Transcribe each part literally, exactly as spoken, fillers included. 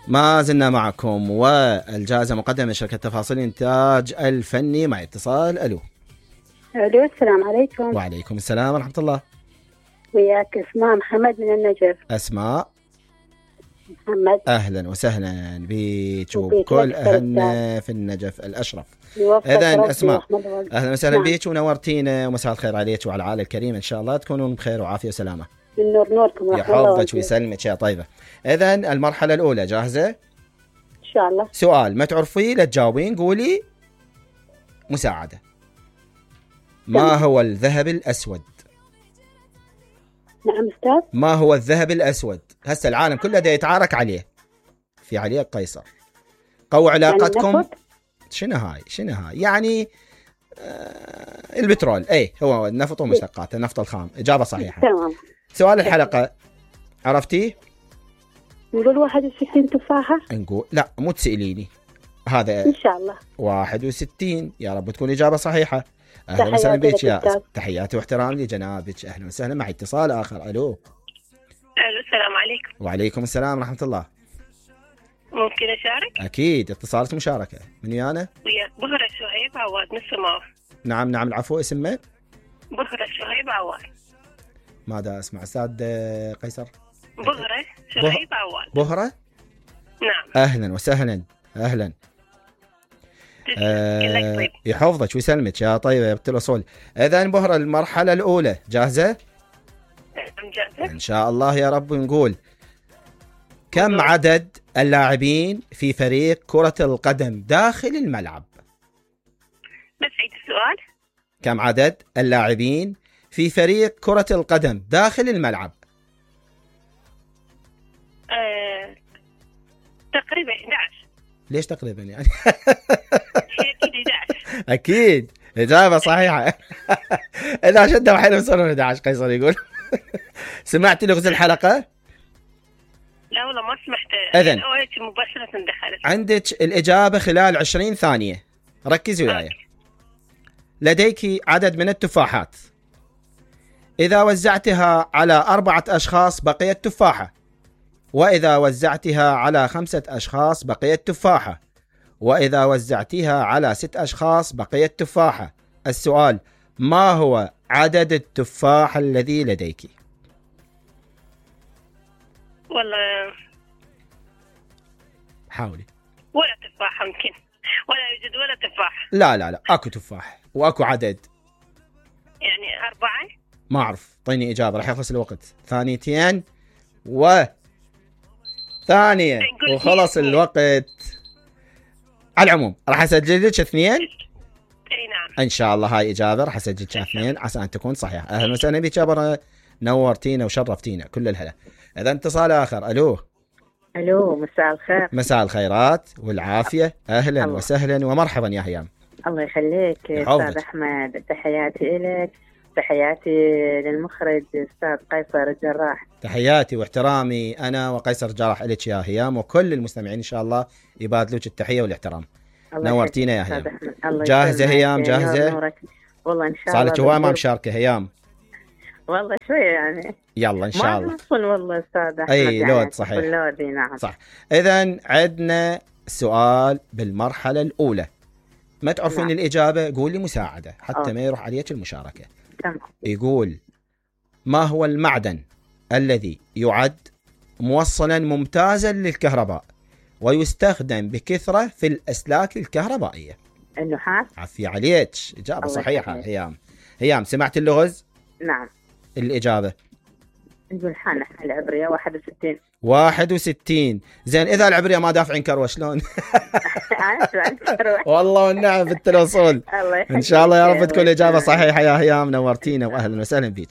ما زلنا معكم، والجائزة مقدمة من شركة تفاصيل الإنتاج الفني. مع اتصال. ألو. ألو السلام عليكم. وعليكم السلام ورحمة الله. وياك اسماء محمد من النجف. أسماء محمد، أهلا وسهلا بيك وكل أهلنا في النجف الأشرف. إذن أسماء أهلا وسهلا نعم. بيك ونورتينا، ومساء الخير عليك وعلى العائلة الكريمة، إن شاء الله تكونون بخير وعافية وسلامة. النور نوركم. يحفظك ويسلمك يا طيبة. إذن المرحلة الأولى جاهزة؟ إن شاء الله. سؤال ما تعرفيه لا تجاوبين، قولي مساعدة. ما هو الذهب الأسود؟ نعم أستاذ. ما هو الذهب الأسود؟ هسه العالم كله دا يتعارك عليه، في عليه قيصر. قووا علاقتكم. يعني شنو هاي شنو هاي يعني آه البترول. اي هو النفط ومشتقاته، النفط الخام. إجابة صحيحة. تمام. سؤال الحلقة عرفتيه؟ نقول واحد وستين تفاحة. نقول لا مو تسأليني هذا إن شاء الله. واحد وستين. يا رب تكون إجابة صحيحة. أهلا وسهلا بك يا تحياتي واحترامي لجنابك. أهلا وسهلا. مع اتصال آخر. ألو. ألو السلام عليكم. وعليكم السلام ورحمة الله. ممكن أشارك؟ أكيد، اتصالات مشاركة. من ويانا؟ ويا بهرة شهيب عواد من السماء. نعم نعم العفو. اسمه؟ بهرة شهيب عواد. ماذا اسمع أستاذ قيصر؟ بهرة شهيب عواد. بهرة؟ نعم. أهلا وسهلا. أهلا. آه يحفظك ويسلمك يا طيبة يا بنت الأصول. إذن بهرة المرحلة الأولى جاهزة؟ جاهزة إن شاء الله يا رب. نقول كم عدد اللاعبين في فريق كرة القدم داخل الملعب؟ بس عيد السؤال. كم عدد اللاعبين في فريق كرة القدم داخل الملعب؟ أه... تقريبا إحدى عشر. ليش تقريبا يعني؟ أكيد إحدى عشر. أكيد إجابة صحيحة. إذا شدوا حيلهم صاروا إحدى عشر. قيصر يقول. سمعت لغز الحلقة؟ لا والله ما سمحت. إذن مباشرة دخلت. عندك الإجابة خلال عشرين ثانية. ركزي وياي. لديك عدد من التفاحات. إذا وزعتها على أربعة أشخاص بقيت تفاحة، وإذا وزعتها على خمسة أشخاص بقيت تفاحة، وإذا وزعتها على ست أشخاص بقيت تفاحة. السؤال: ما هو عدد التفاح الذي لديك؟ والله حاولي. ولا تفاح يمكن، ولا يوجد ولا تفاح. لا لا لا اكو تفاح واكو عدد. يعني أربعة. ما أعرف. طيني إجابة راح يخلص الوقت. ثانيتين و ثانية وخلص الوقت. على العموم راح أسجل لك اثنين. اي نعم ان شاء الله. هاي اجابه راح اسجل لك اثنين عسى ان تكون صحيحه. اهلا وسهلا بك يا نورتينا وشرفتينا كل الهلا. اذا اتصال اخر. الو. الو مساء الخير. مساء الخيرات والعافيه. اهلا الله. وسهلا ومرحبا يا هيام. الله يخليك استاذ احمد. تحياتي لك، تحياتي للمخرج استاذ قيصر الجراح. تحياتي واحترامي انا وقيصر الجراح لك يا هيام، وكل المستمعين ان شاء الله يبادلوك التحيه والاحترام. نورتينا يا هيام. جاهزه هيام؟ جاهزه والله ان شاء الله. صارت هواي ما مشاركه هيام. والله شويه يعني. يلا ان شاء الله. ما والله استاذ احمد. اي يعني لود صحيح. لودي نعم صح. اذا عندنا سؤال بالمرحله الاولى. ما تعرفين نعم. الاجابه قولي مساعده حتى أوه. ما يروح عليك المشاركه. تمام. يقول: ما هو المعدن الذي يعد موصلا ممتازا للكهرباء ويستخدم بكثره في الاسلاك الكهربائيه؟ النحاس. عفي عليك. اجابه صحيحه هيام. هيام سمعت اللغز؟ نعم. الاجابه نقول حان العبريه واحد وستين. واحد وستين. زين اذا العبريه ما دافعين كروه شلون؟ والله والنعم بنت الاصول. ان شاء الله يا رب تكون اجابه صحيحه يا هيام. نورتينا واهلا وسهلا بيك.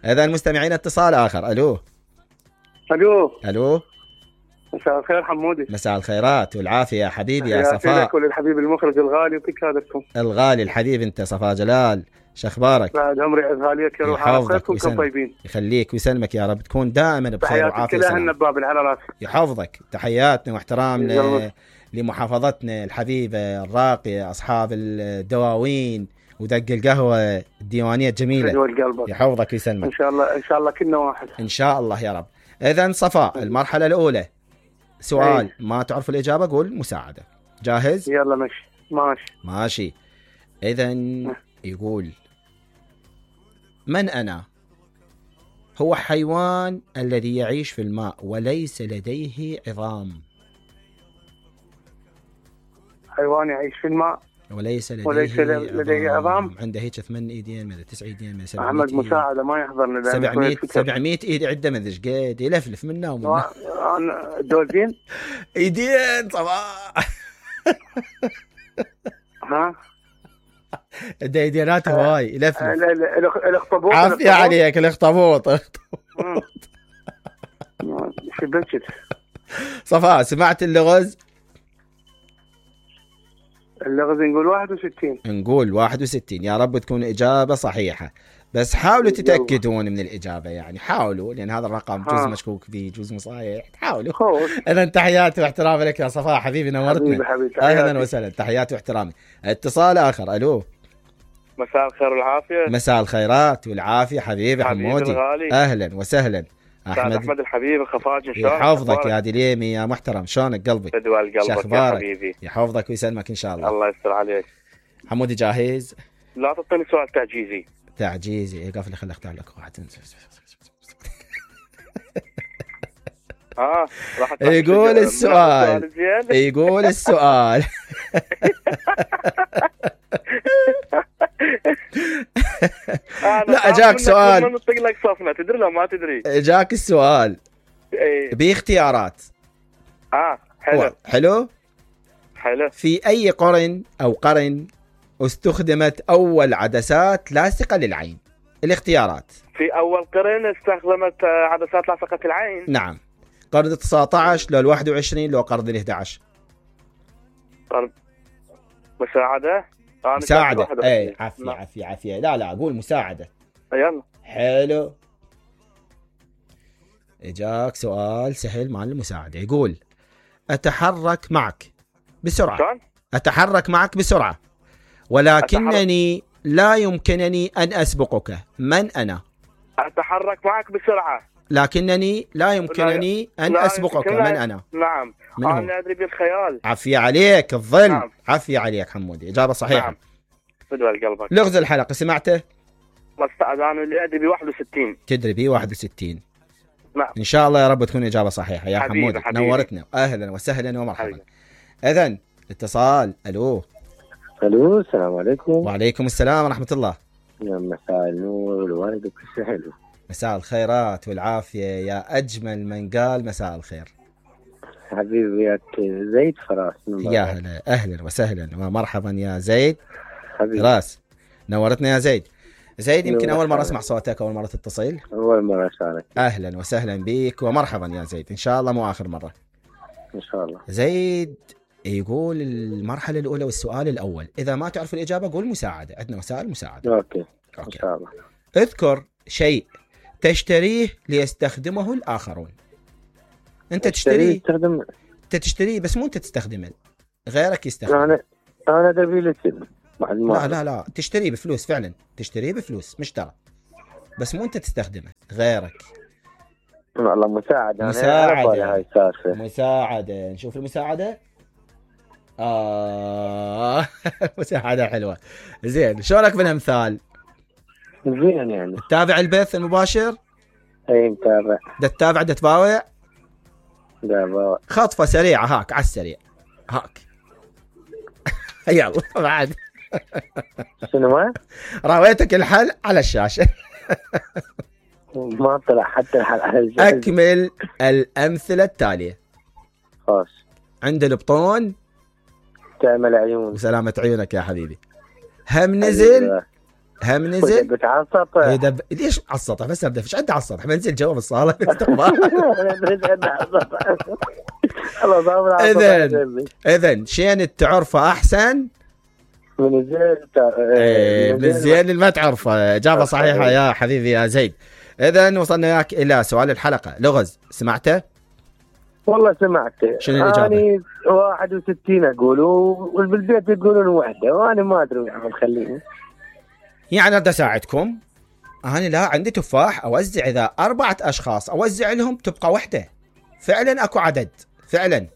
اذا المستمعين اتصال اخر. الو. الو. الو. مساء الخير حمودي. مساء الخيرات والعافيه يا حبيبي يا صفاء. وللحبيب المخرج الغالي يعطيك هذاكم. الغالي الحبيب انت صفاء جلال. شخبارك؟ بعد عمري غاليك يا روح. يحفظك طيبين. يخليك ويسلمك يا رب تكون دائما بخير وعافيه. تحياتي كلها النباب على راسي. يحفظك. تحياتنا واحترامنا لمحافظتنا الحبيبه الراقيه، اصحاب الدواوين ودق القهوه الديوانيه الجميله. يحفظك ويسلمك. ان شاء الله ان شاء الله كنا واحد. ان شاء الله يا رب. اذا صفاء المرحله الاولى سؤال أي. ما تعرف الإجابة قول مساعدة. جاهز؟ يلا ماشي ماشي ماشي. إذا يقول من أنا؟ هو حيوان الذي يعيش في الماء وليس لديه عظام. حيوان يعيش في الماء وليس لديه, وليس لديه عظام. عنده هيك ثمان ايدين من تسع ايدين من سبعمية احمد إيد. مساعدة ما يحضرني لأن سبعمية شوية سبعمية ايد عنده من ذيش قد يلفلف منا ومنا. أنا دولفين. ايدين صباح. ها عنده ايدينات هواي يلفلف. ال- ال- ال- الاخطبوط. عافية عليك الاخطبوط. مم. شبكت. صفاء سمعت اللغز؟ اللغز نقول واحد وستين. نقول واحد وستين. يا رب تكون إجابة صحيحة، بس حاولوا تتأكدون من الإجابة، يعني حاولوا، لأن هذا الرقم جزء ها. مشكوك فيه جزء مصحيح. حاولوا. خوش. إذا تحياتي واحترامي لك يا صفاء حبيبي، نورتنا. حبيبي حبيبي أهلا تحياتي. وسهلا، تحياتي واحترامي. اتصال آخر. ألو. مساء الخير والعافية. مساء الخيرات والعافية حبيبي حبيبي حمودي. الغالي. أهلا وسهلا. أحمد أحمد أحمد الحبيب الخفاجي شلونك؟ يحفظك يا دليمي يا محترم، شلونك قلبي؟ بدوى قلبك يا شخبارك؟ حبيبي. يحفظك ويسلمك إن شاء الله. الله يستر عليك. حمودي جاهز؟ لا تعطيني سؤال تعجيزي. تعجيزي إيه قفل خلي اختار لك واحد. ها راح يقول السؤال يقول السؤال لا اجاك سؤال. نطق لك صفنه تدري لو ما تدري. اجاك السؤال ايه باختيارات. اه حلو حلو حلو. في اي قرن او قرن استخدمت اول عدسات لاصقة للعين؟ الاختيارات. في اول قرن استخدمت عدسات لاصقة العين. نعم. قرن التسعة عشر لو الواحد وعشرين لو قرن الإحدى عشر؟ قرن مساعدة. آه مساعدة. اي عافية عافية عافية. لا لا اقول مساعدة. يلا حلو. اجاك سؤال سهل مال المساعدة. يقول اتحرك معك بسرعة. شلون؟ اتحرك معك بسرعة ولكنني أتحرك. لا يمكنني ان اسبقك. من انا؟ اتحرك معك بسرعة لكنني لا يمكنني لا ان لا اسبقك. لا من انا؟ نعم انا ادري بالخيال. عافية عليك الظل. نعم. عافية عليك حمودي، اجابة صحيحة. نعم. بدوى قلبك. لغز الحلقة سمعته؟ انا اللي ادري ب واحد وستين. تدري بي واحد وستين. نعم. ان شاء الله يا رب تكون اجابة صحيحة يا حبيبي حمودي. حبيبي. نورتنا. اهلا وسهلا ومرحبا. حبيبي. اذن اتصال. الو. الو السلام عليكم. وعليكم السلام ورحمة الله. يا مساء النور والورد وكل شيء حلو. مساء الخيرات والعافية يا أجمل من قال مساء الخير. حبيبي يا زيد فراس. يا هلا أهلا وسهلا ومرحبا يا زيد حبيبي. فراس. نورتنا يا زيد. زيد يمكن أول مرة أسمع صوتك، أول مرة تتصل. أول مرة أشارك. أهلا وسهلا بك ومرحبا يا زيد، إن شاء الله مو آخر مرة. إن شاء الله. زيد يقول المرحلة الأولى والسؤال الأول، إذا ما تعرف الإجابة قول مساعدة، عندنا وسائل مساعدة. أوكي. أوكي. إن شاء الله. اذكر شيء تشتريه ليستخدمه الآخرون. أنت تشتريه تستخدم. أنت تشتريه بس مو أنت تستخدمه، غيرك يستخدمه. أنا أنا دبي لسن. لا لا لا تشتريه بفلوس فعلا، تشتريه بفلوس مش ترى، بس مو أنت تستخدمه غيرك. والله مساعدة. مساعدة. هاي السالفة. مساعدة. نشوف المساعدة. آه مساعدة حلوة. زين شلونك بالأمثال؟ زين يعني. تتابع البث المباشر؟ أي متابع. ده تتابع ده تباوع؟ ده خطفة سريعة هاك على السريع هاك. يلا بعد. شنو ما؟ راويتك الحل على الشاشة. ما طلع حتى الحل على الجهاز. أكمل الأمثلة التالية. خلاص. عند البطون تعمل عيون. وسلامة عيونك يا حبيبي. هم نزل هم نزل بتعصط. إذا ليش على السطح بس ابدا فيش عندي على السطح بنزل جوا بالصالة استقبال. إذن إذن شين تعرفه أحسن من الزين. إيه من الزين اللي ما تعرفه. إجابة صحيحة يا حبيبي يا زيد. إذن وصلنا وياك إلى سؤال الحلقة. لغز سمعته؟ والله سمعته. شنو الإجابة؟ أنا واحد وستين أقول والبالبيت يقولون واحدة وأنا ما أدري عم خليني. يعني بدي أساعدكم. أنا لا عندي تفاح أوزع، إذا أربعة أشخاص أوزع لهم تبقى وحدة. فعلا أكو عدد فعلا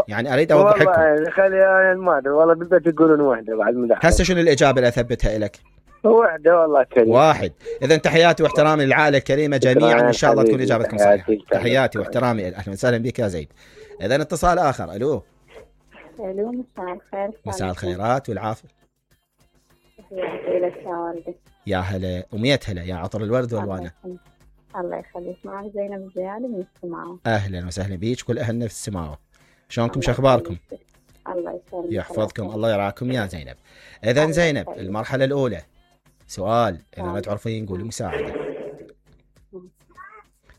يعني اريد اوضح لكم. والله خلي ما ادري والله بالبيت يقولون واحده بعد مدح. هسه شنو الاجابه اللي اثبتها لك؟ واحده والله كريم. واحد. اذا تحياتي واحترامي للعائله الكريمه جميعا، ان شاء الله تكون اجابتكم صحيحه. تحياتي واحترامي، اهلا وسهلا بك يا زيد. اذا اتصال اخر. الو. الو مساء الخير. مساء الخيرات والعافيه. تحياتي لك يا والدي. يا هلا وميت هلا يا عطر الورد والوانه. الله يخليك. معك زينب الزيادي من السماوه. اهلا وسهلا بيك كل اهلنا في السماوه. شلونكم شو اخباركم؟ الله يسلمك. يحفظكم الله يرعاكم يا زينب. اذا زينب المرحله الاولى سؤال اذا ما تعرفين قولي مساعده.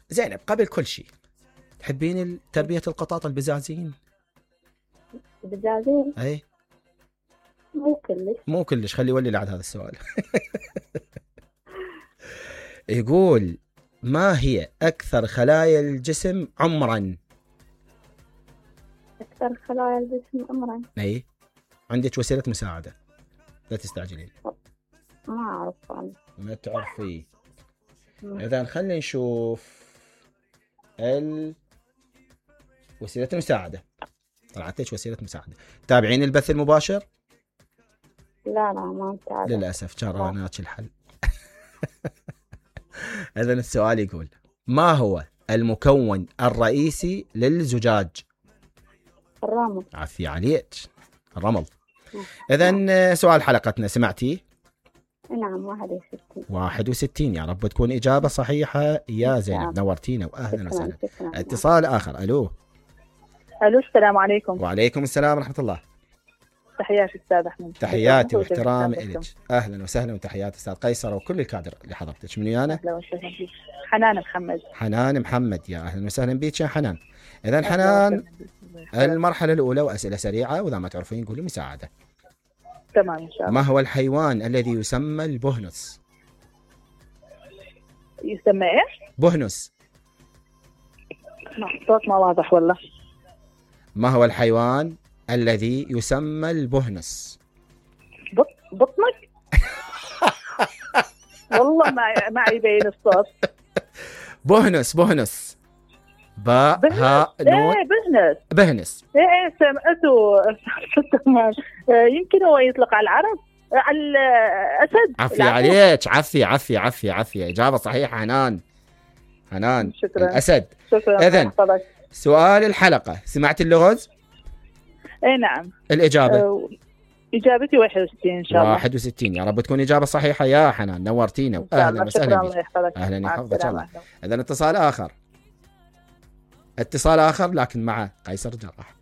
زينب قبل كل شيء تحبين تربيه القطاط البزازين؟ البزازين؟ اي مو كلش. مو كلش. خلي ولي لعد هذا السؤال. يقول ما هي اكثر خلايا الجسم عمرا؟ أكثر خلايا الجسم عمرا. اي عندك وسيلة مساعدة لا تستعجلين. ما أعرف أنا. ما تعرفي. إذا خلينا نشوف ال وسيلة المساعدة. طلعت لك وسيلة مساعدة. تابعين البث المباشر؟ لا لا ما متابع للأسف جراناك الحل. إذا السؤال يقول ما هو المكون الرئيسي للزجاج؟ الرمل. عفي عليك. الرمل. إذن سؤال حلقتنا سمعتي؟ نعم واحد وستين. واحد وستين. يا رب تكون إجابة صحيحة يا زينب. نورتينا وأهلا وسهلا. اتصال آخر. ألو. ألو السلام عليكم. وعليكم السلام ورحمة الله. تحياتي أستاذ أحمد. تحياتي واحترامي إلك. أهلا وسهلا وتحياتي أستاذ قيصر وكل الكادر اللي حضرتك. من ويانا؟ أهلا وسهلا بك. حنان محمد. حنان محمد. يا أهلا وسهلا بك يا حنان. إذا حنان المرحلة الأولى وأسئلة سريعة وإذا ما تعرفين قولي مساعدة. تمام إن شاء الله. ما هو الحيوان الذي يسمى البهنس؟ يسمى إيش؟ بهنس. صوت ما واضح والله. ما هو الحيوان الذي يسمى البهنس؟ بط بطنك؟ والله ما ما يبين الصوت. بهنس بهنس. باء هاء نون. ايه بهنس. بهنس. ايه سمعته. يمكن هو يطلق على العرب على الاسد. عفي عليك. عفي عفي عفي عفي. اجابه صحيحه حنان. حنان. شكرا. الاسد. شكرا. اذن سؤال الحلقه سمعت اللغز؟ اي نعم. الاجابه؟ أه اجابتي واحد وستين ان شاء الله. واحد وستين. يا رب تكون اجابه صحيحه يا حنان. نورتينا واهلا وسهلا بك. اهلا يحفظك الله. اذا اتصال اخر. اتصال اخر لكن مع قيصر جراح.